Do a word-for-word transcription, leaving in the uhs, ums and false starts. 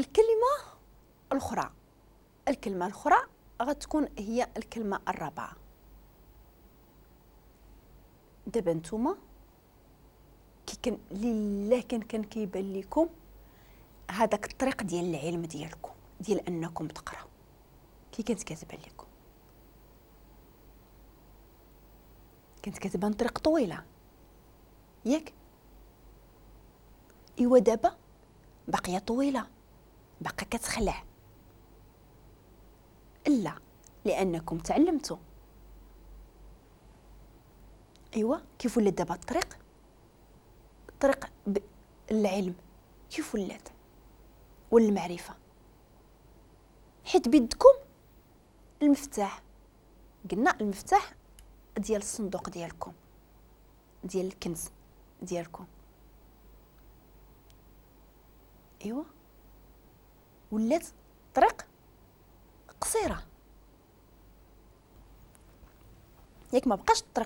الكلمة الاخرى، الكلمة الاخرى غتكون هي الكلمة الرابعة. دابا نتوما كي كان لله كان كان كيبان لكم هذاك الطريق ديال العلم ديالكم، ديال انكم تقراو، كي كانت كتبان لكم؟ كانت كتبان طريق طويلة، ياك؟ ايوا دابا باقية طويلة، باقا كتخلع. لا، لانكم تعلمتوا. ايوا كيف ولات دابا الطريق؟ الطريق العلم كيف ولات؟ والمعرفة، حيت بيدكم المفتاح. قلنا المفتاح ديال الصندوق ديالكم، ديال الكنز ديالكم. ايوا ولات طريق قصيرة، ياك؟ ما بقاش الطريق